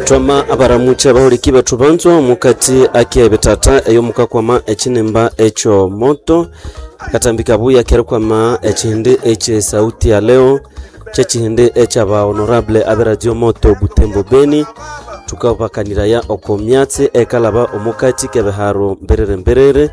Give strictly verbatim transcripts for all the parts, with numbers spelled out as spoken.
Twama abaramuche abahuliki bethu banzwa mukati ake bitata eyo mukakwama ekinimba ekyo moto katambika buya kerikwama ekihindi ekye sauti ya leo kyekihindi ekyaba honorable abe radio moto Butembo Beni tukabakaniraya oko myatsi ekalaba omukati kebiharo mberere mberere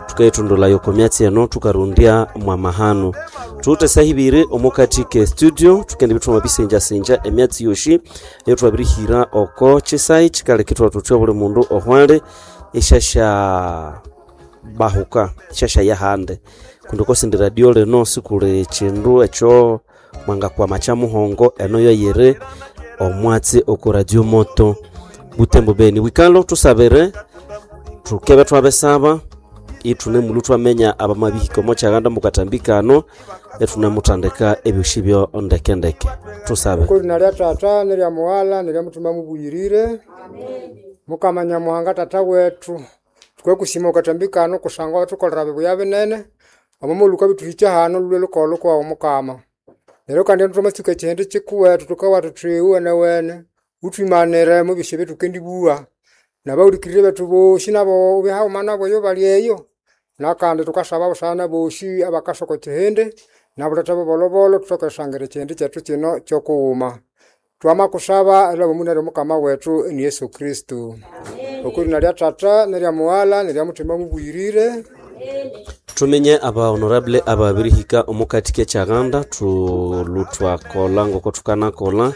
tukayithundulayo oko myatsi eno tukarundya mwamahano tuwuthe sahibiri omukati ke studio tukende bithuma bisenjasenja emyatsi yoshi eyo twabirihira oko kisayi kikaleka ithwathuthya buli mundu ohwali eshasha bahuka shasha yahande kundi kosindi radio lino sikuli kindu ekyo mwangakwama kya muhongo eno yoyiri omwatsi oko radio moto Butembo Beni wikalo tusabire tukebe twabesaba ithune mulu twamenya abamabihika omo kyaganda mukatambikano ethunamuthandika ebyoshi byo ndekendeke tusabe Kulina lya tata nelya muwala nelya mutuma mubuyirire mukama nyamuhanga tata wetu tukwekusima ukatambikano kusangwa watukolera bibuya binene omumuluka bituhikya hano lulwe lukolo kwawu mukama neryo kandi nthumatsuka ekihindi kikuwetu tukawa thuthi wene wene utwimanire mubisyo ebyetukendibuwa nabawulikirire bethu bosi nabo ubihauma nabo eyo bali eyo nakandi tukasaba busana bosi abakasoko kihindi nabuletha bubolobolo tuthoke erisangira ekihindi kyethu kino kyokughuma twamakusaba elabo munere mukama wetu ni Yesu Kristo okulina lya tata nelya muwala nelya mutima mubuyirire tumenye aba honorable ababirihika omukati kekyaganda thulu twakola ngoko thukanakola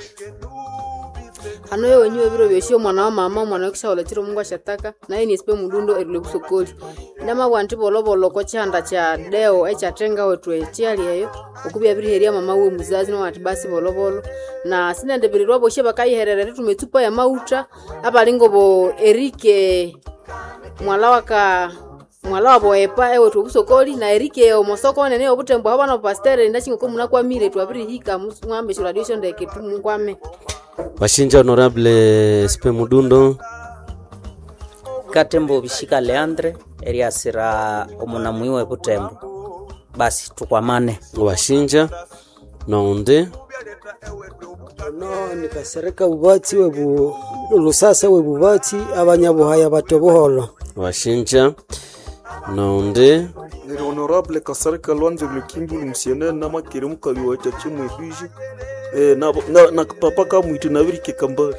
hano yo wenyiwe biro byoshi omwana wa mama omwana wekishaolo chiro mungu ashataka naye nisipe mudundo erilwe busokoli ndamabwa nti bolobolo ko chihanda cha deo echatenga wetu echiali eyo okubya biriheria mama we muzazi nowati basi bolobolo na sinendebirirwa boshe bakayiherera ritume etsupa ya mauta abalingo bo erike mwala waka mwala wabo epa ewethu obusokoli na erike omosoko nene obutembo aho bana pastere ndachingoko munakwamire twabirihika mwambe shuradio shondeke tumukwame washinja honorable sipe mudundo katembo bishika leandre eriasira omunamui we butembo basi tukwamane washinja nonde no nikasereka bubatsi webu lusasa webubatsi abanyabuhaya bato buholo washinja nonde Neri honorable Kasarika Lwanze Lukimbulu msienene namakere mukali wa chachi mwebije eh, na, na, na papa kamwite nabirike kambali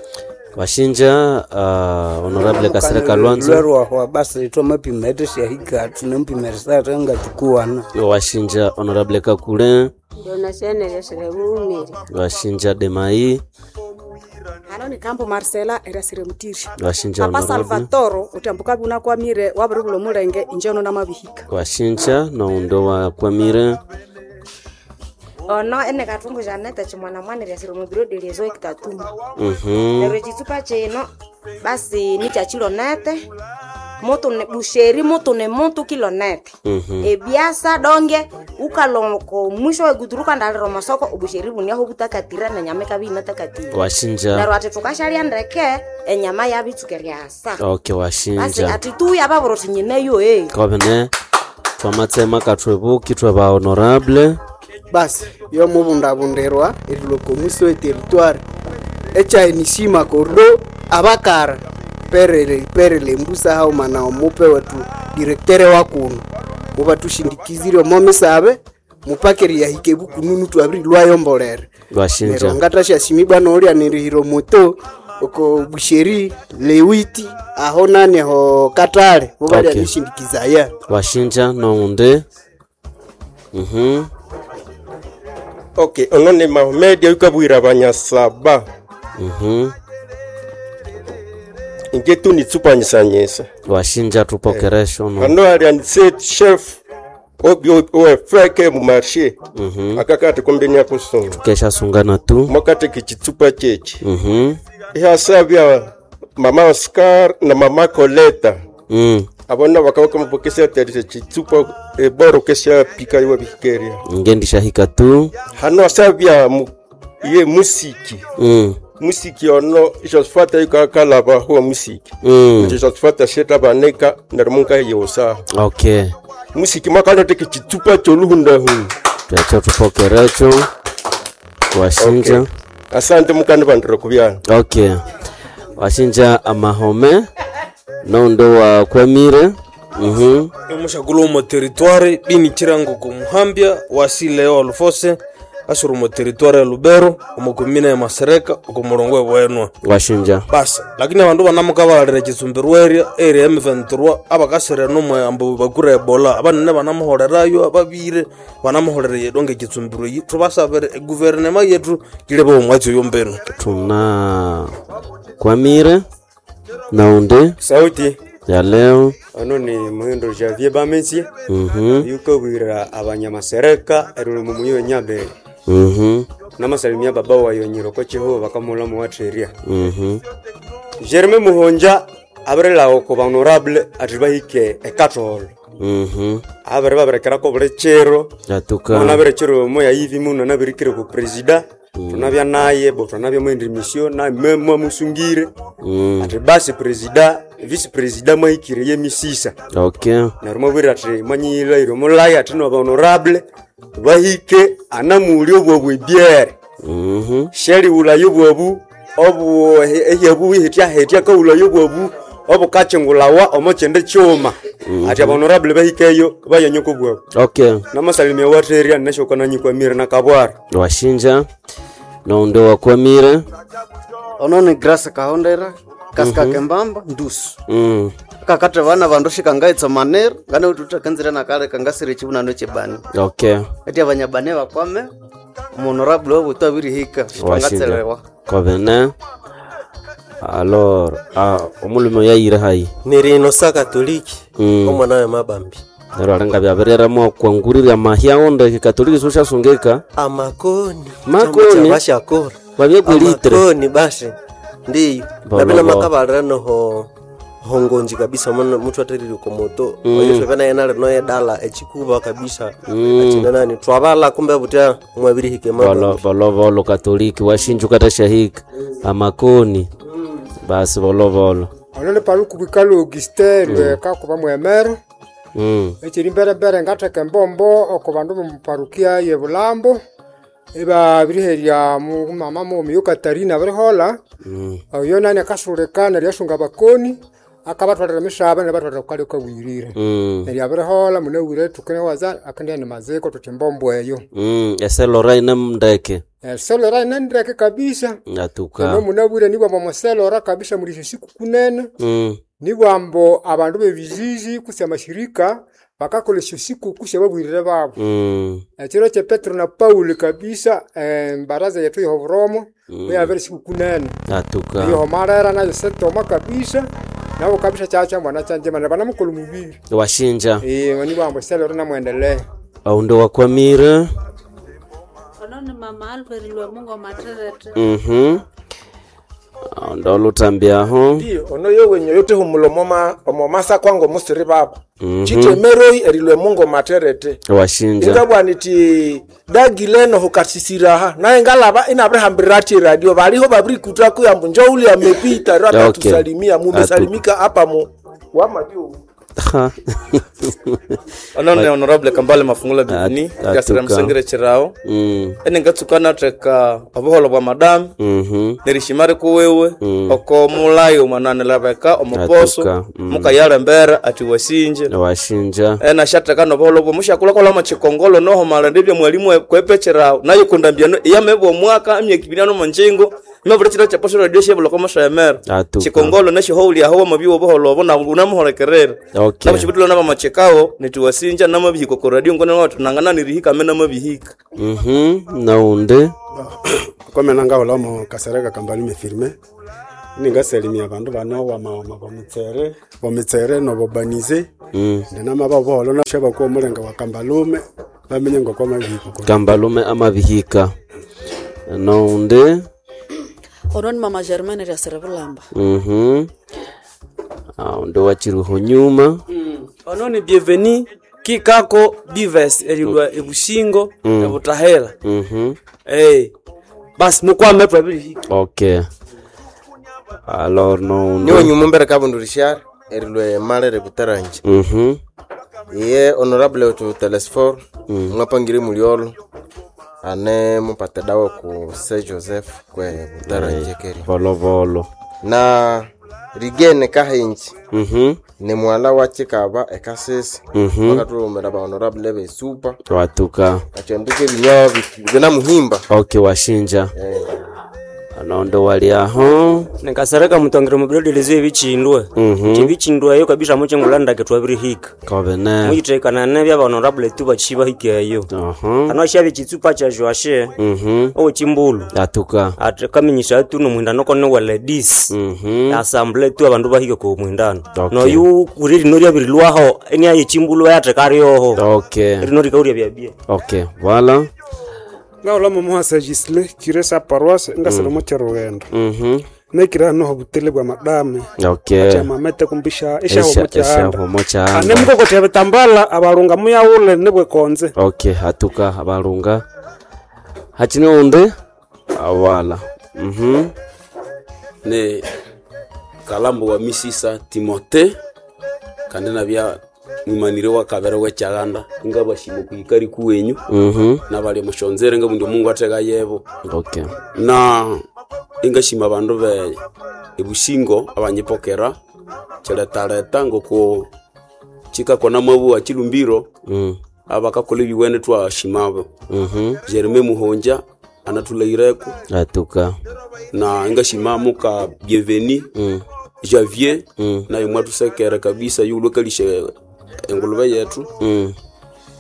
washinja uh, honorable kasereka lwanzo lwerwahwa basi twamapima eteshahika tunampima nga tukuwana washinja honorable kakule Donasienelesere bulumire washinja demai hano ni kambo marcela erasire mutiri washinja papa honorable salvatoro utambuka bunakwamire wabiribula omulenge inje ono namabihika washinja noundo wakwamire ono ene katungu janete chimwana mwana lyasire mubiro deliezo ekitatumba mhm neryo ekitsupa kino basi nikyakilonete mutu ni busheri mutu ni mutu kilonete mhm ebyasa donge ukaloko mwisho weguturu kandalira omasoko obusheri buniaho butakatire nenyama ikabya inatakatire washinja neryo ati thukashalya ndeke enyama yabitsuka eryasa okay basi washinja ati tuya babura uthi nyineyo e kobene twamatsema kathwebuki thweba honorable basi yomubundabundirwa erilwa omusi weterritoire echaenishima kordo abakara perele perele mbusa hauma na omupe wetu direktere wakuno mubatushindikizire omo misabe mupakeri yahike bukununu twabirilwayo mbolere neryo washinja ngatashasimibwa noolya nirihira omoto oko busheri lewiti aho nani ho katale mubalya Okay. nishindikizaya washinja nounde mhm ok ono ni mahomed ayukabwira abanyasaba mhm inje tu nitsupanyisanyisa washinja tupokeresho no hano hari aniset chef oefeke mumarshe mhm akakati kombeni yakusunga kesha sungana tu mwakati kichitsupa chechi mhm ihasabya mama oscar na mama coleta mm abona bakaba kamupokesya terise chitsupa eboro kesya pika iwe bihikeria ngendishahika tu hano asabya mu, ye musiki mm musiki ono josephat ayukakalaba huwa musiki mm josephat asheta baneka neryo munka yeyosa okay musiki mwakaloteke chitsupa choluhundahunda twecho tupokerecho washinja okay. Asante mukani bandire kubyana okay Washinja amahome noundi wakwamire. Mhm. Omushakulu omo territoire bini chirango kumuhambya wasile walufose asuri omo territoire ya Lubero omo komina ya Masereka oko mulongo ebwenwa Washinja. Basi lakini abandu banamuka balira chitsumbirwa area area ya M vingt-trois abakasira nomwe ambu bakura Ebola abanene banamuholerayo ababire banamuholera yedonge chitsumbirwa yi thubasabire eguverinema yetu kilebe omwatsi oyo mbenu. Tuna kwamire naundi Sauti ya leo. Ono ni Muhindo Javier Bamensi. Mhm. Yukabwira abanyamasereka erulumu muyo nyabere. Mhm. Namasalimia baba wayo nyiroko chiho bakamula muwateria. Mhm. Jeremy Muhonja abrela oko ba honorable atibahike ekatolo. Mhm. Abere baberekerako buli chiro. Atuka. Mona bere chiro moya yivi muno nabirikire ku presida. Tunabya naye bo tunabya mu mission na mwe musungire. Mm. Ati basi presida vice presida mwahikire ye misisa. Okay. Neryo mwabwira ati mwanyiyilhaire omulaya ati noba honorable bahike anamuli obwabu ebyere. Mhm. Sheliwulayo obwabu obu ehyabu ihityahetya akawulayo obwabu obukakyingulawa omo kyindi kyuma. Mhm. Ati aba honorable bahikeyo bayanyoko obwabu. Okay. Namasalimia watheria nesyokananyikwamire nakabwara. Washinja noundi wakwamire. Ono ni Grace Kahondera kasika Mhm. kembamba ndusu Mm. kakati vana vandu shikangaitsa manero ngane ututakenzire nakale kangasire chivunano chebani Okay. ati abanyabane bakwame muhonorable wabutu abirihika Washinja. shitangatselewa Kobene. Alors, ah, omulume yayire hayi. Nirino sa katoliki Mm. omwana we mabambi Neryo alinga byabiriramu kwangurira mahya onde kikatoliki soshasungika. Amakoni. Makoni. Bashakora Babyegwelitre. Amakoni basi ndiyo Bolo, nabina bolo. makabalira noho hongonji kabisa muna muthu aterire komoto Mm. oyo twebena yena lino yedala echikuba kabisa Mm. achine nani twabala kumbe butya mwabirihike Bolo mabambi bolo bolo katoliki washinja ukatashahika. Amakoni. Basi bolo bolo. Ono ni paluku bwikalo Augustin Mm. lweka kuba mwemere. Mm. Ekiri mberembere ngatheka embombo oko bandu bomuparukia ye Bulambo ibabiriherya mu mama mughuma Katarina abirihola. Mm. Oyo nani akasulika neryo yasunga abakoni akabatwalira emisaba neryo abatwalira kukali kawirire. Mm. Neryo abirihola munawire tukinewaza akendya ni maziko tuthi embombo eyo. Mm. Eselora ine mndeke. Eselora ine ndeke kabisa. Atuka. Ono munabwire nibwamba omuselora kabisa muli esyo siku kunene. Mm. Nibwambo abandu b'ebizizi kutse amashirika bakakola esyo sikuku syababwirire babu. Mm. Ekiro kye Petero na Paulo kabisa embaraza yetu y'oburomo Mm. yabere sikuku nene. Atuka. Eyohomalera nayo setoma kabisa nabo kabisa kyakya mwana kyanjema ne banamukola omubiri. Washinja. Eh, nibwambo eselora namwendelee. Aundi wakwamire. Ono ni mama Alfred Lwamungo Materete. Mhm. Aundi olutambyaho. Ndiyo ono yowenyo yotehumula omoma omomasa kwango musiri baba. Mhm. Chitemeroi erilwe mungo materete. Washinja. Ingabwa niti dagileno hukasisiraha naye ngalaba inabirihambirira ati radio baliho babirikuta kuyambu njo uli amepita ro Okay. atatusalimia mumesalimika hapa mu wamajuu. Ono ni honorable Kambale Mafungula Bivini At- gasira atuka. musengere chirao. Mm. Ene ngatsuka natheka obuholo bwa madamu. Mhm. Nerishima rikuwiwe Mm. oko mulayo mwananilabeka omuposo. Atuka, mm. Mukayalembera ati wasinje. Washinja. Ena shatheka nobuholo bwe mushakulakola chikongolo noho malende bya mwalimu kwepecherawo nayo kundambiano iyamebwa omwaka emyaka ibiri ano monjingo imabula chiro chaposo radio shebuloko moshemera. Atuka. Chikongolo neshihoulyaho wamabyiwa obuholo obo na unamuholekerera. Okay. Nabo nabamachekao nitiwasinja namabihika ko radio ngone watu nangana nirihika me namabihika. Mhm. Naundi. Kwamena ngahulamo kasereka kambali firme ningasalimia abandu bano wamawama bomutsere bomitsere nobobanize. Mm. Ndinama babuholo nashabakuwa omulenga wa kambalume bamenye ngokwamabihiko. Kambalume amabihika. Naundi. Ono ni mama Germaine Ryasire Bulamba. Mhm. Aundi wachiriho nyuma. Ono ni bienveni kikako dives erilwa ebushingo. Mm. Ebutahela. Mhm. Eh, basi mukwame twabirihika. Okay. Alors naundi. Niwe nyuma mbere kabundu rishar erilwe malere butaranje. Mhm. Iye honorable wetu Telesfor Mm. mwapangire muliolo ane mupate dawa ku Saint Joseph kwe butaranje keri. Volovolo. Na Rigene Kahinji Mhm. ni mwala wa Chikaba ekasese Mhm. bakatulomera ba honorable besupa Watuka. achendike binyawa binamuhimba Okay, washinja. Anondo wali aho. Nikasereka mutongere mubirolelezo ebichindwe Mhm. nti ebichindwe eyo kabisa muchingulanda twabirihika Kobene. muyitekana nebya honorable tu bachiba hikeyo Aha. ano shabye chitsupa cha Joashe Mhm. owechimbulu Atuka. ate kaminyisa atu nomwindano kone wa ladies Mhm. assemble tu abandu bahike ku mwindano Okay. noyu kuri rino ryabirilwaho eniaye chimbulu yatekaryoho Okay. rino rikauria byabye Okay, voilà. Ngaula momuhasa Gisle kire sa paroisse ngasele Mm. mo cherugendo Mhm. nekira noho butele bwa madame Okay. achamamete kumbisha ishaho Esha- mochahanda eshaho mochahanda. ane mukokotya bitambala abalunga muyaule nibwekonze Okay, hatuka abalunga. Hachine unde? Awala. Mhm. Ne kalambo wa misisa Timote kandi nabya mwimanire wa kabere wekyaganda ngabashima kuikari kuwenyu Mhm. nabali mushonzere ngabundi Mungu ateka yebo Okay. na ingashima abandu be ebusingo abanyipokera kiletaleta ngoko chikakona mabu achilumbiro Mm. abakakola ebiwene twashimabo Mhm. Jereme Muhonja anatulaireko Atuka. na ingashima muka Bienveni mm. Javier mm. naye mwatusekera kabisa yulwekalishe engulube yetu Mm.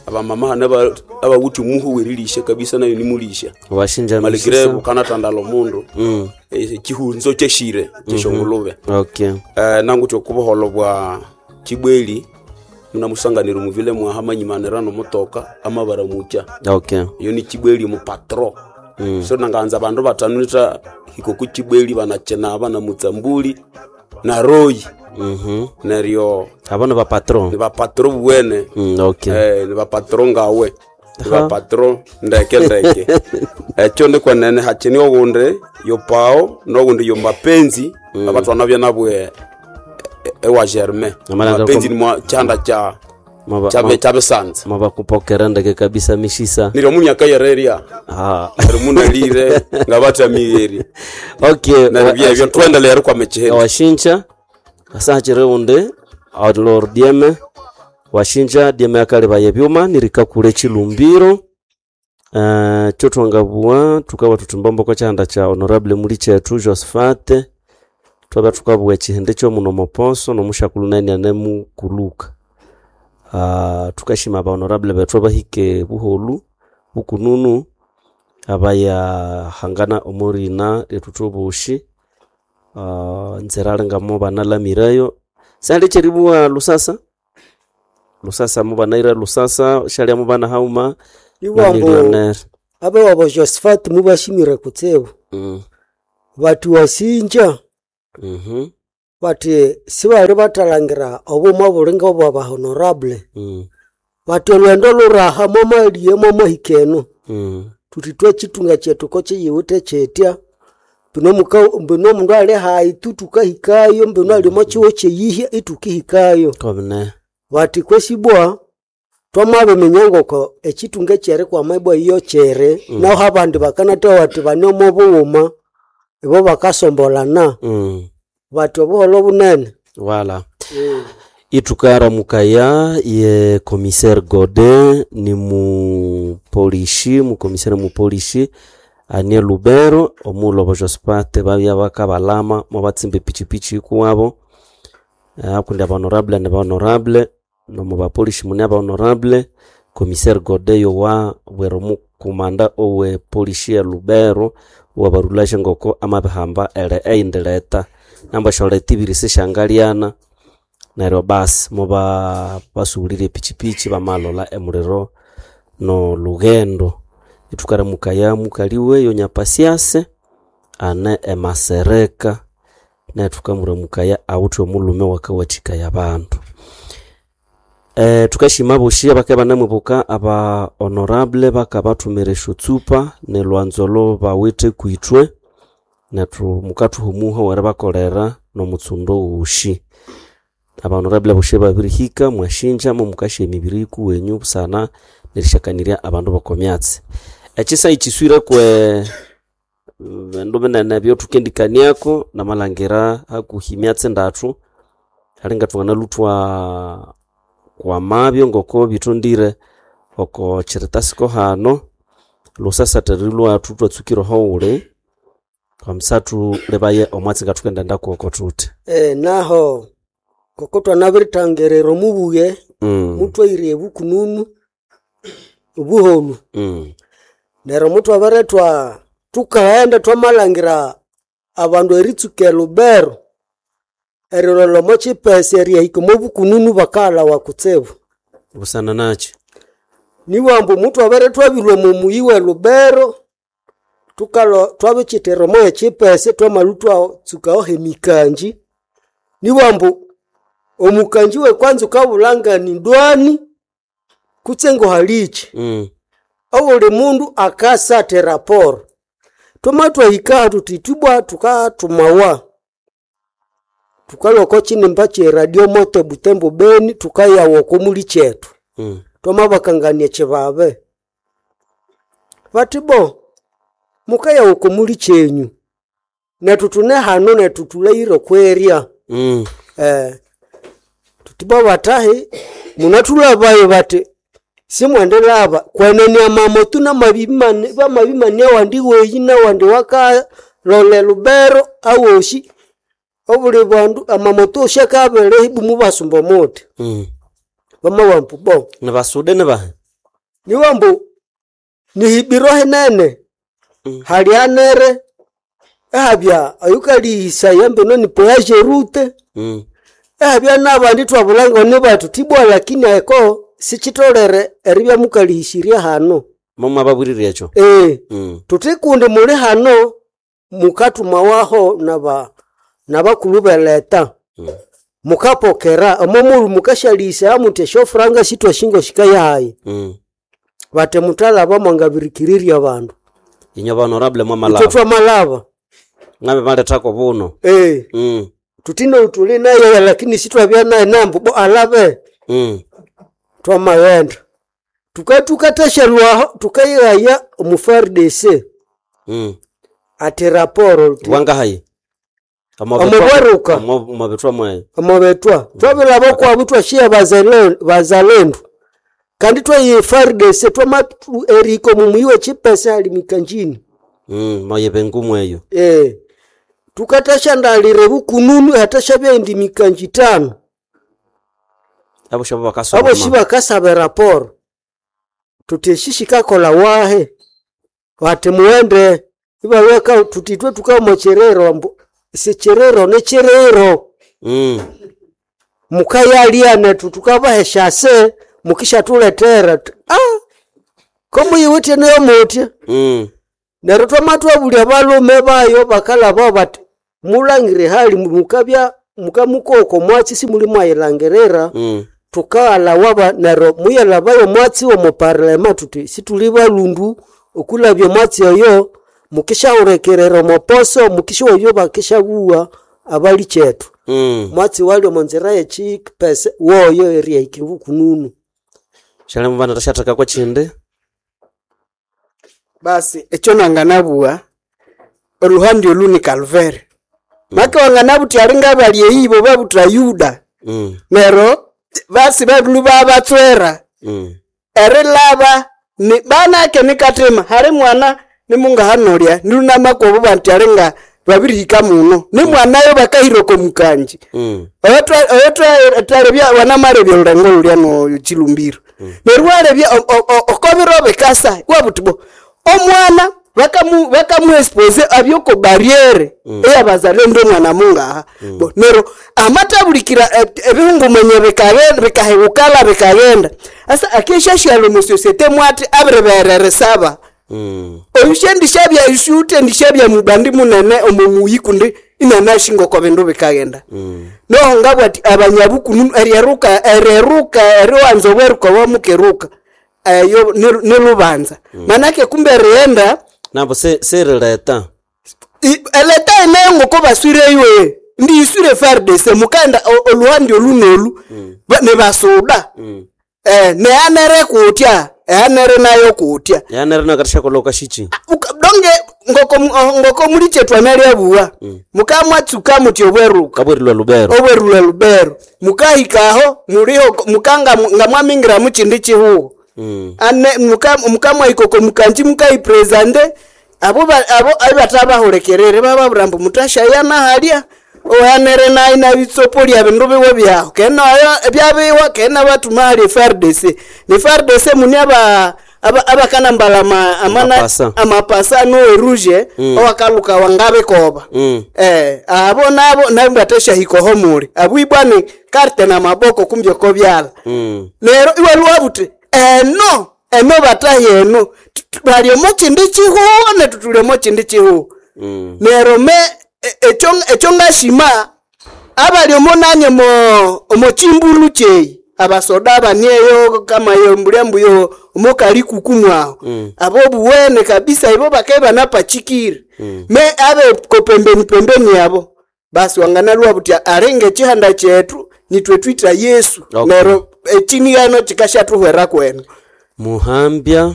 abamama hane aba- abawuthi omuhu werilisha kabisa nayo nimulisha Washinja maligre misisa. bukanatandala omundu Mm. Eh, chihunzo kyeshire kyeshongulube Okay. eh, nanguthi okubuholo bwa chibweli munamusanganira muvile mwaha manyimanira nomutoka amabara mucha Okay. iyo ni chibweli mupatro Mm. so nanganza bandu batanu nita hiko kuchibweli banachenaba na mutsambuli na royi Mhm. neryo Abana ba patron. ni bapatro buwene Mm, okay. eh, ni bapatro ngawe ni Aha. bapatro ndeke ndeke ekyo nikwenene hachini ogundi yopao nogundi yomapenzi mm. abatwana byanabwe ewa germain Amalanga mapenzi kom- ni mwa chanda cha Maba- chabe ma- chabisanza Mabakupokera ndeke kabisa mishisa. niryo munyaka yereria Ah. neryo munalire ngabatamigheri Okay. neryo byebyo twendelere kwa mechiheni Washinja asachire unde alor dieme washinja dieme akaleba yebyuma nirikakule chilumbiro uh, chotwangabua tukawa tutumbombo chanda cha honorable muli chetu Josephat twaba tukabua chihende chomuno moposo nomushakulu nani anemukuluka uh, tukashima ba honorable bethu abahike buholu bukununu abaya hangana omurina letutubushi uh, nzira alingamo banalamirayo sali cheribuwa lusasa lusasa mubanaira lusasa shalia mubana hauma na Iwambo millionaire abe wabo Josephat mubashimire kutsibu mm. bati wasinja mm bati sibali batalangira obuma bulinga obwa ba honorable mm. bati olwendo luraha mwamaliye mwamahikeno mm. tuti twechitunga chetu ko chiyiwite chetya bino muka bino omundu ali hayi tu tukahikayo mbino alimo chiwo cheyihya itukihikayo kobne bati kwesibwa twamabiminya ngoko echitunga chere kwamaibwa iyo chere Mm. naho abandi bakanatoa bati bane omo bughuma ibo bakasombolana mm. bati obuholo bunene wala itukaramukaya ye commissaire Godin ni mupolishi mukomisere mupolishi anie Lubero omulobo Josphat babya bakabalama mobatsimba epichipichi ikuwabo Eh, akundi abahonorable ne bahonorable nomu bapolishi mune abahonorable commissaire Godin yowa bwera omukumanda owe polishi ya Lubero wabarulashe ngoko amabihamba ele eindileta namba sholeta ibiri sishangaliana neryo basi muba basuhulire epichipichi bamalola emuliro no lugendo itukaramukaya mukaliwe yonyapasiase ane emasereka netukamuramukaya awuthe omulume wakawathikaya abandu e, tukashima boshi abake banamwibuka aba honorable bakabathumira esyotsupa nelwanzolo bawithe kwithwe nethu mukathuhumuha weribakolera nomutsundo woshi abahonorable boshi babirihika mwashinja mumukasha emibiri ikuwenyu busana nerishakanirya abandu bokomyatsi ekisa ikiswire kwe Bindu binene ebyothukendikaniako namalhangira hakuhi emyatsi ndathu alinga thwanganaluthwa kwamabyo ngoko bithondire oko kiritasiko hano lusasatha lwathu thwatsukire oho wuli kwamsathu libaye omwatsi ngathukendaenda kuwoko thuthi. Eh, naho koko twanabiritangirira omubuye Mm. mutwaire ebukununu obuholu Mm. neryo mutwabiretwa tukaghenda twamalhangira abandu eritsuka elubero erilolha omo kipesa erihika omo bukununu bakaghalhawa kutsibu Busana nakyi niwambu mutwabere twabilwa omo muyi we lubero tukalo twabikyitira omo ekipesa twamalwa twatsukaho emikanji niwambu omukanji wekwanza ukabulha ni ndwani kutse ngohalikyi Mm. obuli mundu akasatha eraporo twama twahika thuthi ithwibwa tukathumawa tukalhwa oko kinimba kye radio moto Butembo Beni tukayawa oko muli kyethu Mm. twamabakangania kyibabe bathi bo mukayawa oko muli kyenyu nethu thune hano nethu thulahire okwerya Mm. eh, thuthi bo bathahi munathulhabayo bathi simwendilhaba kwenene amamotu namabimane bamabimania awandi weyi nawandi wakalola elubero awosi obuli bandu amamoto osi akabere ibu mubasumba omuti Mm. bamawambu bo Nibasude nibahe niwambu nihibiro hinene hali anere ehabya oyukalihisaya mbino ni poyaje rute Mm. ehabya nabandi twabulanga ni bathu tibwa lakini eko sikyitolere eribya mukalihisirya hano Momwababwirire ekyo ee Mm. thuthi kundi muli hano mukathumawaho naba nabakulhu beleta Mm. mukapokera omo mulu mukasyalihisa muthi esyofuranga sithwashingo shikayahayi Mm. bati muthalaba mwangabirikirirya abandu Inyo ba honorable ithwe mwamalaba twamalaba ngabe balethako buno ee Mm. thuthi noutuli naye lakini sithwabya naye nambu bo alabe Mm. twamaghenda tukatukathasyalwaho tukayighaya omu F A R D C Mm. ati raporo Wangahayi Omobweruka. Omobethwa mweyo omobetwa twabilaba kwabu twashiya bazale- bazalendu kandi twayiya F A R D C twamatu erihika omu muyi wekipesa hali mikanjini Mm, moyebe ngumu eyo eh tukathashandalira ebukununu hathashabya indi mikanji tano abo shabo bakasoma abosi bakasaba eraporo tuthi esi shikakola wahe bati mughende ibalweka tuthi ithwe tukama kyerero ambu sikyerero nikyerero Mm. mukayalya nethu tukabaha esyase mukisyathulethera Thu- ah komuyiwithe niyo mutya Mm. neryo twamatwabulya balume bayo bakalhaba bati mulangire hali mukabya mukamukoko mwatsi simuli mwayilangirira Mm. tukaghalhawa ba neryo muyalhabayo omwatsi womu parlema thuthi situli balundu okulabya omwatsi oyo mukisyahulikirira omoposo mukisyoyo bakisyabuwa abali kyethu Mm. mwatsi wali omo nzira yekipesa woyo erihika ebukununu Shali mubana tashathaka kwa chindi basi ekyo nanganabugha oluhandi olu ni Calvary make wanganabuthi alinga bali eyi bo babuthwa Yuda Mm. neryo basi babilu babatswera Mm. erilaba ni banake nikatima hali mwana nimungahanolya nilunamakobo banti alinga babirihika muno ni mwanayo bakahira oko mukanji Mm. oyo wanamalebya olulengo lulya no chilumbiro neryo walebya okobiro bikasa wabuthi bo omwana bakamu bakamuexpose abyoko barriere eyabazalendo omwana mungaha bo neryo amatabulikira eh, ebihungumenye bikaghenda bikahewukala bikaghenda asa akeshashyala omu societe mwati abiribereresaba Mm. oyushendishabya ishuutendishabya mubandi munene omu muyi kundi inanashinga oko bindu bikaghenda Mm. noho ngabwati abanyabukunu eryeruka ereruka eriwanza obweruka wamukeruka eyo ni- nilubanza manake kumbe erighenda Nabo se serileta i- eleta eneyo ngoko baswireyo ndi iswire F A R D C mukaenda o- oluhandi olu nolu ba- nibasuda Mm. eh, neanere kutya eanere nayo kutya Yanere nakathashakola okashichi Uka- donge ngoko ngoko muli chetu analyabuwa mukamwatsuka muti obweruka Kabwerilwa Lubero. Obwerulwa Lubero mukahikaho muliho mukanga ngamwamingira muchindi chihuho. Mm. Ane muka mukamwahikoko mukanji mukaipresente abo ba- abo abatabahulekerere bababwira mbu mutashaya nahalya ohanere nayi nabitsopo lya bindu biwe byaho kenayo byabiwa kena batuma hali F R D C ni F R D C muni aba aba- abakanambala ama- amana- Amapasa. amapasa nowe rouge Mm. owakaluka wangabikoba. Mm. Eh, abo nabo nabo muli abwibwani karte na maboko kumbyoko byala. Mm. Lero iwe lwabuti eno eno batahi eno baliomo chindi chihuho netutuliomo chindi chihuho. Mm. Nero me e- ekyo ekyo ngashima abaliomo nanye mo omo chimbulu cheyi abasoda abanieyo kama yo mbulya mbuyo omokali kukumwaho. Mm. Abo buwene kabisa ibo bakeba napachikire. Mm. Me abe ko pembeni pembeni yabo basi wanganalwa buti alenge chihanda chetu nitwe twita Yesu. Okay. Nero echinigano chikashatuhwera kwenu. Muhambya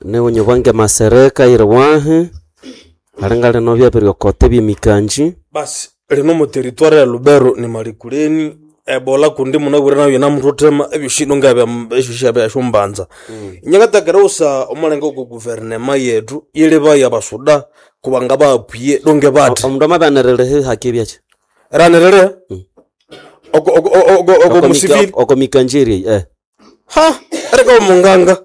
newenye bwange masereka iriwahe alinga lino byabiryokote byemikanji. Basi lino mu territoire ya Lubero ni malikuleni ebola kundi munabwire nayo namuthotema ebyoshino ngabya esyosyabya syombanza nyakatakera usa omulengo ku guvernema yetu yilibaya abasuda kubanga baapwiye donge bati omundu amabanirire haki byaki ranirire oko oko oko oko musivili oko mikanjiri eh ha ereka omunganga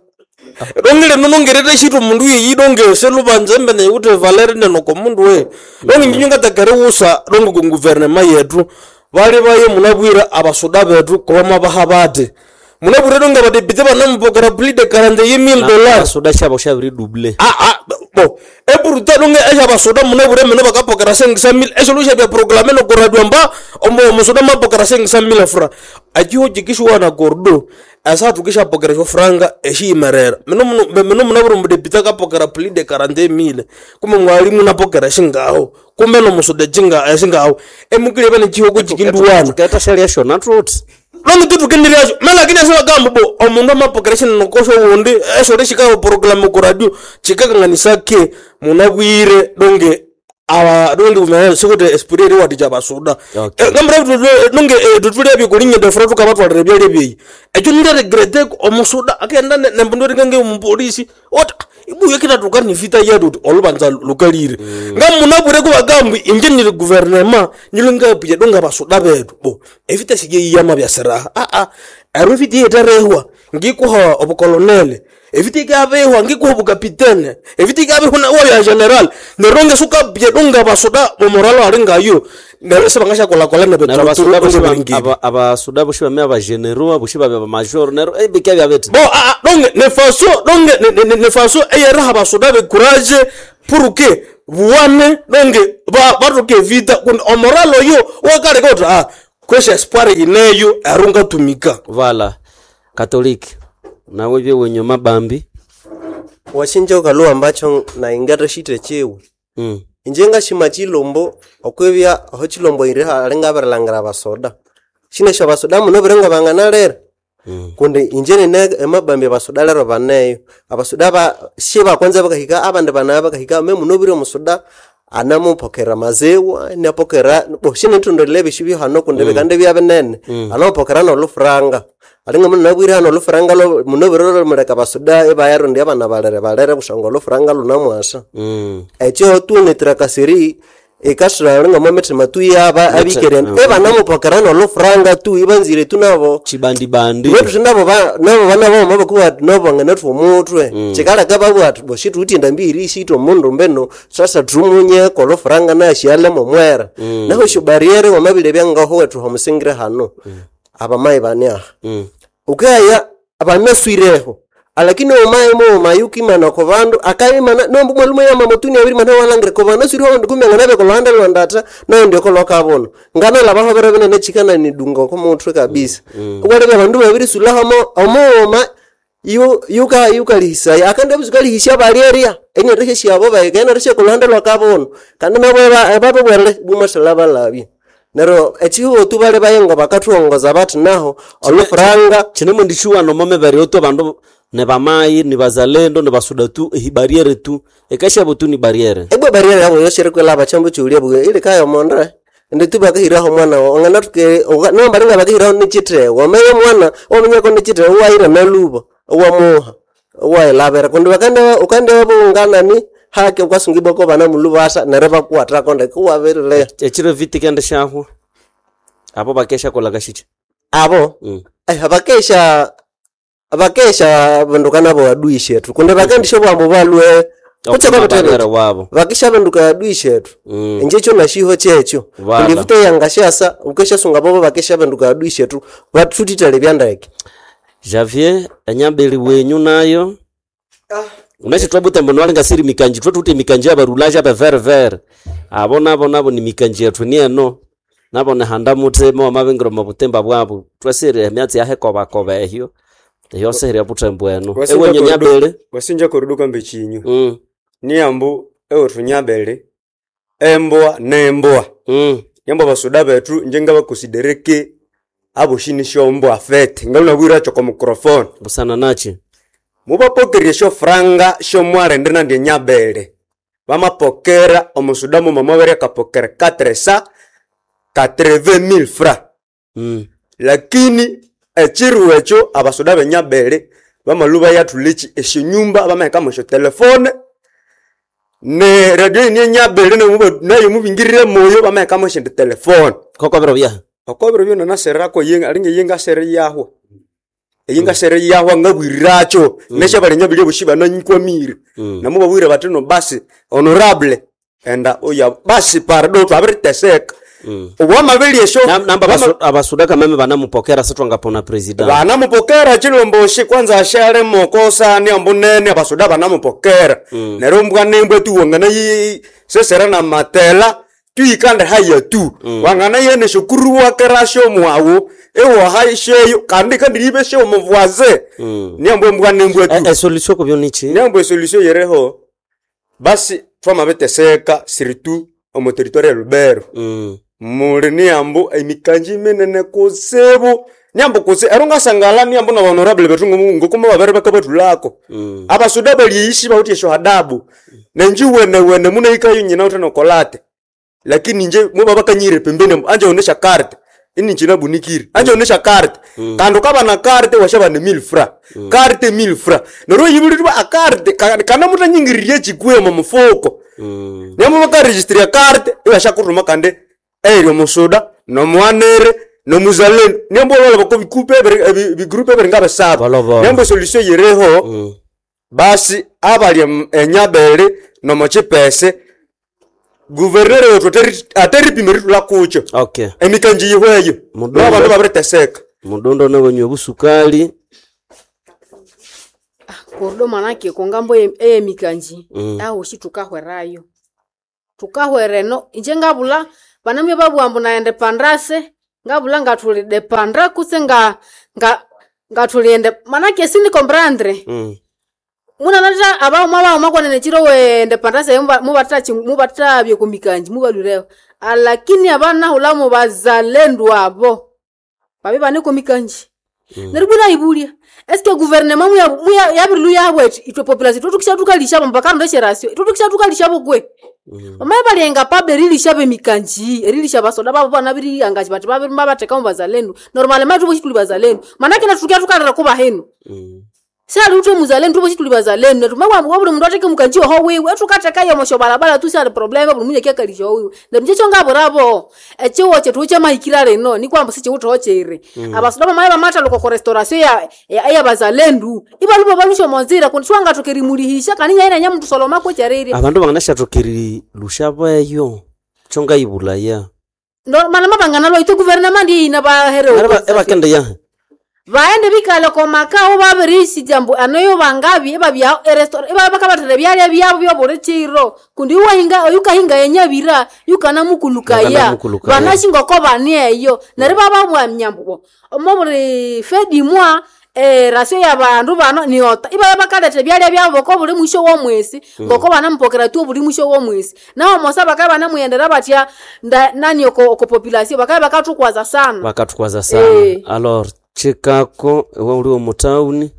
donge lino nongerere shitu omundu yeyi donge selubanza embene yikuti valeri nenoko mundu we donge nyinyo ngatakere usa donge ku guvernema yetu bali baye munabwira abasuda betu kuba mwabaha bati munabwira donge abadepite banamupokera plus de quarante mille dollars. Abasuda shabo shabiri double. Ah ah bo epuruta donge esha basoda munabwira mene bakapokera cinq cent mille esho lusha bya proclame no koradwa mba omo omusoda mapokera cinq cent mille francs achiho chikishuwa na gordo asa tukisha pokera sho franga eshiyimerera mino muno mino munabwira omudepite akapokera plus de quarante mille kumbe mwalimu napokera shingaho kumbe no musoda chinga eshingaho emukile bene chiho kuchikinduwana tuketa shalia shona tuti longe tutukenderasho malakini asivagamba bo omundu amapokera shinokosho wundi esho lishikaho programu ku radio chikakanganisa ke munabwire donge awa donge kumene sikuti esprit eri wati chabasuda ngambira donge tutulya byekulinya defra tukabatwalira byalya byeyi ekyo nileregrete omusuda akenda nembundu eringange omupolisi oti ibuyo kitatuka ni vita yetu uti olubanza lukalire ngamunabwire kubagambwi inje nili guvernema nilingapwiye donge abasuda betu bo evita siyeyiyama byasiraha aa ero evita yeterehwa ngikuha obukolonele evita ikabehwa ngikuha obukapitene evita ikabehwa na waya general neronge sukabye donge abasuda bomoralo ali ngayo nero sebangashakolhakolha Nero abasuda boshi ba- nebeturuturuingiri aba- abasuda boshi bame abageneraux boshi babe abamajor nero ebika byabete bo ah, ah, donc ne faso donc ne, ne, ne faso eyeraha basoda be courage pour que buwane donc ba batoke vita kundi omoralo yo wakaleka kuti ah kwesha espoir ineyo erunga tumika. Vala katoliki nawe byewenyo mabambi washinja ukaluwa ambacho naingata shite chiwu. Mm. Inje ngashima chilombo okwibya aho chilombo iri alingabirilhangira abasoda shinesho abasoda muno biringo banganalera kundi inje nine emabambi abasoda lero baneyo abasoda ba shi bakwanza bakahika abandi banaya bakahika me muno biri omusoda anamupokera maziwa inapokera bo shinitondolele ebishu byo hano kundi Mm. bikande bya binene. Mm. Anamupokera nolufuranga alinga muno nabwire hano olufuranga lo muno biri lumuleka abasoda ibayarundi abana balere balere kusangwa olufuranga lunamwasa. Mm. Ekyo tunetirakasiri ikasira linga mwamitima tu yaba Mete- abikere mm. ebanamupokera nolufuranga tu ibanzire tu nabo chibandibandi wetu nabo ba nabo bana bo mabakuwa nabo nganathu omutwe. Mm. Chikalaka babwa ati bo shitutinda mbiri shito mundu mbeno sasa tumunye kolufuranga nashiale momwera. Mm. Naho sho barriere wamabile byangaho wetu homusingire hano abamayi bani aha. Mm. Ukaya abanaswireho alakini omaye mo mayukimana ko bandu akayimana nombu mwalume ya mamutuni abiri mana walangire ko banaswireho ndikumya nganabe ko lwanda lwandata nayo ndio ko lokabona ngana labaho bere bene chikana ni dunga ko mutwe kabisa. Mm. Walebe bandu babiri sulaho mo omoma yu yuka yukalihisa akandi abuzukalihisha balieria ene reshe abo baigena reshe ko lwanda lwakabona kandi nabo babo bwere bumasala balabye nero echihuo tu bale bayengo bakathuongoza bati naho olufuranga chine mwendishuwa nomome bari oto bandu Ne bamai ni bazalendo ni basuda tu ehi barriere tu ekashabo tu ni barriere. Ebwe barriere yabo yoshire kwelaba chambo chulia bwe ile kayo mondre ndi tu bakahiraho mwana ongana tuke no baringa bakahiraho nichite wameye mwana omenyako nichite waira naluba wamuha wailabera kundi bakande ukande bungana ni hake ukasungibwa bana mulubasa nereba kuwatra konde kuwabirile Echiro viti kende shaho. Abo bakesha kola kashiche. Abo mm. eh, abakesha abakesha binduka nabo adui shetu kundi bakandisha bwambo balwe Kucha kwa wabo. Vakisha binduka adui shetu mm. Enjecho nashiho checho Vala. kundi vute yangashasa ukesha sunga bobo bakesha binduka adui shetu batutitale byandeke Javier enyambeli wenyu nayo ah. Unachitwa butembo nwalinga siri mikanji twatute mikanji abarulaja abe vere vere abo nabo nabo ni mikanji yetu ni eno nabo nehanda mutemo amabengero mabutemba bwabo twasire emyatsi yahekoba koba ehyo ehyo seheri butembo eno ewenyu nyabele wasinja kuruduka mbechinyu mm. niambu ewethu nyabele emboa nemboa mm. nyambo basuda bethu njenga bakusidereke aboshini shombo afete ngalunabwira choko microphone busana nachi mubapokerie shofranga shomwarende nandye nyabele bamapokera omusuda muma mwabere akapokera katresa katreve mille francs mm. Lakini echiru ekyo abasuda benyabele bamaluba yathulichi eshinyumba bamahekamo esyo telefone ne radio ini enyabele nayo mubingirire moyo bamahekamo esindi telefone kokobero byaha okobero byona nasererako yenga alinga yenga sere yahwa eyinga sere yahwa ngabwiriracho mm. Nesha bali boshi bananyikwamire mm. Namo babwire bati no basi honorable enda oya basi pardo twabiriteseka mm. Obwamabeli esho namba abasu, abasuda kameme banamupokera sitwangapona president banamupokera chilomboshi kwanza ashale mokosa ni ambunene abasuda banamupokera mm. Nero mbwa nembwe tuwangana yi sesera na matela tuikande haya tu mm. Wangana yene shukuru wakerasho mwawo ewo haisheyo kandi kandi libeshe omuvuaze mm. Niambwe mbwa nembwe tu e, e solution ko byonichi niambwe solution yereho basi twamabeteseka siritu omu territoire ya Lubero mm. Muli niambu emikanji minene kutsibu niambu kutsi ero ngasangala niambu na honorable bethu ngokuma babere bakabathulako mm. Abasuda balyiishi bawuthi esyo hadabu nenji wene wene munaikayo nyina uthi nokolate lakini nje muba bakanyire pembeni anje onesha carte ini nchina bunikiri anje onesha carte mm. Kandi ukaba na carte washaba ni mille francs mm. Carte mille francs nero yibulirwa a carte kana mutanyingiririe chikwe mu mufuko mm. Niambu bakaregistria carte iwashakuruma kandi eryo musuda nomwanere nomuzalendo niambu ololo bako bikupe bigrupe beringa besaba niambu solution yereho mm. Basi abali enyabele nomochipese guvernere wetu ateripima ritula kucho okay. Emikanji yihweyo nabandu babiriteseka mudondo nawenywe busukali Kurdo manake kongambo eyemikanji mm. Aho shi tukahwerayo tukahwereno inje ngabula banamwe babwambu naende pandase ngabula ngathuli depandra kutse nga nga ngathuliende manake sindi comprendre mm. Munanata abauma bauma kwanene chiro wende pandase mubatata mubatata byekomikanji mubalwireho alakini abana hulamu bazalendu abo babe bane komikanji mm. Neryo buna ibulia eske gouvernement muya muya yabiru yabwe itwe population tutukisha tukalisha mpaka ndo rasio tutukisha tukalisha bokwe mm. Mamaye balenga pabe rilisha bemikanji erilisha basoda babo bana biri angaji bati babe mabateka mu bazalendu normalement tubo chituli bazalendu manake natukia tukalira kuba henu mm. Sali utwe muzalendo tubo chituli bazalendo tumabwa buli mundu ateke mukanji ho wiwe tukateka yo mosho balabala tu sali problema buli munye kyakalisha ho wiwe neryo nje ngaborabo echiwo chetu chamahikira reno ni kwamba sichiwutho chere mm. Abasuda bamaye bamata loko ko restauration ya ya, ya bazalendu ibalubo balusho monzira kundi ngatukerimulihisha kaninya ina nyamuntu soloma ko chariri Abandu banganashathukiri lushabeyo chonga ibulaya no mana mabangana lo itu gouvernement ina bahere ebakende ya vaende bikale komakao babirisi ambu anoyo bangabi ebabya erestora ebabakabathere byalya byabo byobuli chiro kundi uwahinga oyukahinga yenyabira yukanamukulukaya Yukanamukulukaya. banashingoko bani eyo neryo bababwamya mbu omo buli fedimwa eh, rasio ya bandu bano niota ibaya bakaletha byalya byabo boko buli mwisho womwesi Mm. ngoko banamupokera tu buli mwisho womwesi nawo mosa bakaba banamuyendera batya nda- nani oko, oko population bakaba bakatukwaza sana Bakatukwaza sana Eh. alors chikako iwe uli omutauni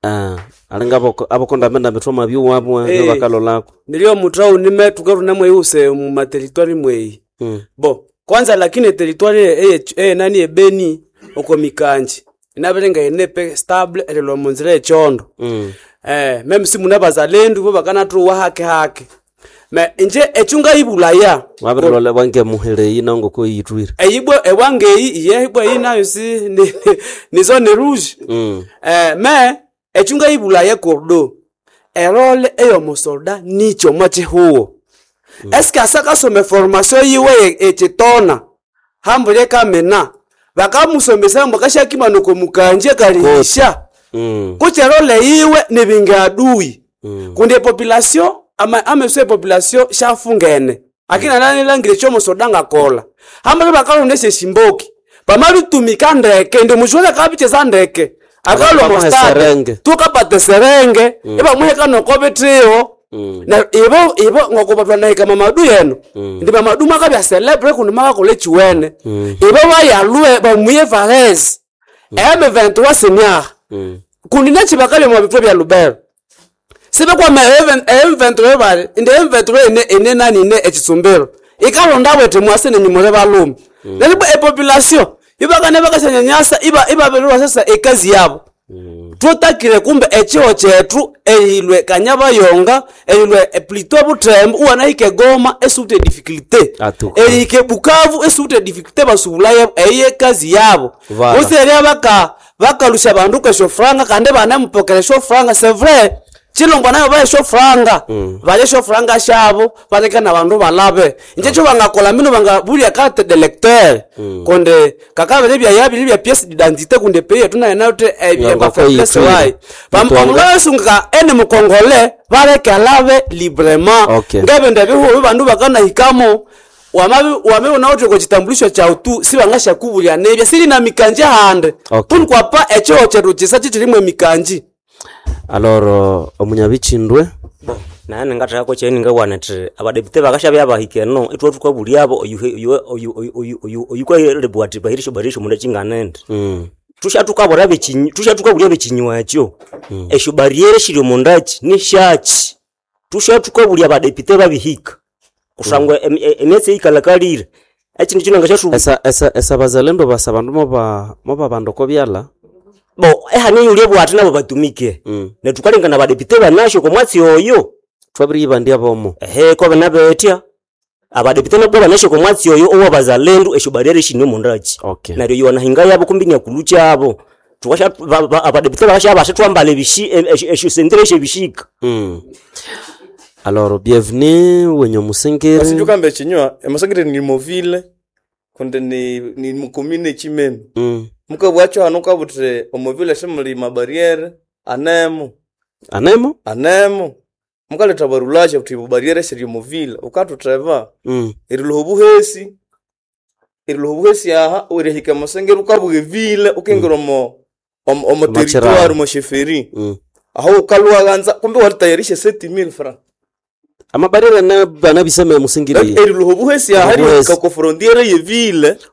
Ah, alinga aboko abokondamenda mithoma byuwabwa Eh. bakalolako nilio mutauni metu keruna mweyuse mu materitoire mweyi Mm. bo kwanza lakini territoire eye eye nani ebeni oko mikanji inabirenga enepe stable elelo munzira echondo Mm. eh meme si muna bazalendu bo bakanatuwa hake hake me inje echunga ibulaya wabirilole wange muheleyi nango koyitwire eyibwe ewangeyi iye ibwe iyi nayo si ni, ni zone rouge Mm. eh me echunga ibulaya kordo erole eyomusolda nicho mwachihuo mm. eske asakasoma formation yiwe echitona hambule kamena bakamusomesa mbu akashakimanuko mukanje kalihisha Mm. kucherole yiwe nibinga adui Mm. kundi epopulation ama ameso epopulation shafungene akina nanilangire chomusoda ngakola hambule bakalondesha eshimboki pamabitumika ndeke ndi mushuole kabicheza ndeke Bamuhe akalomostade serenge. tukapate serenge Mm. ibamuheka nokobitiho Mm. na ibo ibo ngokubatwanahika mamadu yeno Mm. ndi mamadu makabya celebre kundi makakola echiwene Mm. ibo bayalue bamuye varese M vingt-trois senior Mm. kundi nechibakalya mwa bitwe bya lubero sibekwama M vingt-trois bali ndi M vingt-trois ene ene nani ine echitsumbiro ikalonda bwete mwase nenyumure balume mm. nelibo epopulation ibakane bakashanyanyasa iba ibabererwa sasa ekazi yabo mm. tutakire kumbe echiho chetu eyilwe kanyabayonga eyilwe plutôt butembo uwanahike goma esute difficulté Atuka. erihike bukavu esute difficulté basubulayo eyi ekazi yabo Voilà. useria baka bakalusha bandu kesho franga kandi banemupokera sho franga c'est vrai chilongwa nayo baye sho franga Mm. balye sho franga shabo baleka na bandu balabe inje cho bangakola mino bangabulya carte de lecteur Mm. konde kakabele bya yabili bya pièce d'identité kunde pays tuna nayote Yanga ko faiblesse yitwire. wayi Mutwanga. bamulasunga ene mukongole baleke alabe librement Okay. ngabende bihubi bandu bakanahikamo wamabi wamibona uti kuchitambulisho cha utu sibangasha nebya sili na mikanje hande Okay. punikwapa echiho chetu chisa chichilimwe mikanji Alors omunyabichindwe naye ningathekako kyeni ngawana thi abadepute bakashabya bahika eno ithwe thukabulyabo oyukalebwa athi bahirisho bahirisho munda kyinganende Mm. tushathukabura bekinyi tushathukabulya bekinywa ekyo esyo barriere shiri omundaki nishaki tushathukabulya abadepute babihika kusangwa em- e- emyatsi eyikalakalire ekindu kino ngashathu esa esa esa bazalendo basa bandu moba moba bandu kobyala bo ehane yulye bwati nabo batumike mm. nethukalengana abadepute banasyo komwatsi oyo twabiriyibandya bomo ehe kobe nabetya abadepute nabo banasyo komwatsi oyo owabazalendu esyo barriere shine omundaki okay. neryo yona yabo kumbi nyakulu kyabo Tukasha- ba- ba- abadepute bakasha basithwambala ebishi esyo sentire esyebishika mm. Alors bienvenue wenye musingiri Asijukambe ekinywa emasangire ni movile kundi ni ni mukomine chimeme mm. mukabwacho hano kabuthi omovile simuli mabariere anemo anemo anemo mukaletha barulacha buthi bubariere siri omovile ukathutheba mm. eriloha obuhesi eriloha obuhesi aha erihika emasengere ukabuga evile ukingira omo omo omo Omachiraro. territoire omo sheferi Mm. aho ukalwaghanza kumbe walitayarisha sept mille francs amabarriere na banabiseme musingiri eriloha obuhesi aha Obuhesi. erihika ko frontiere yevile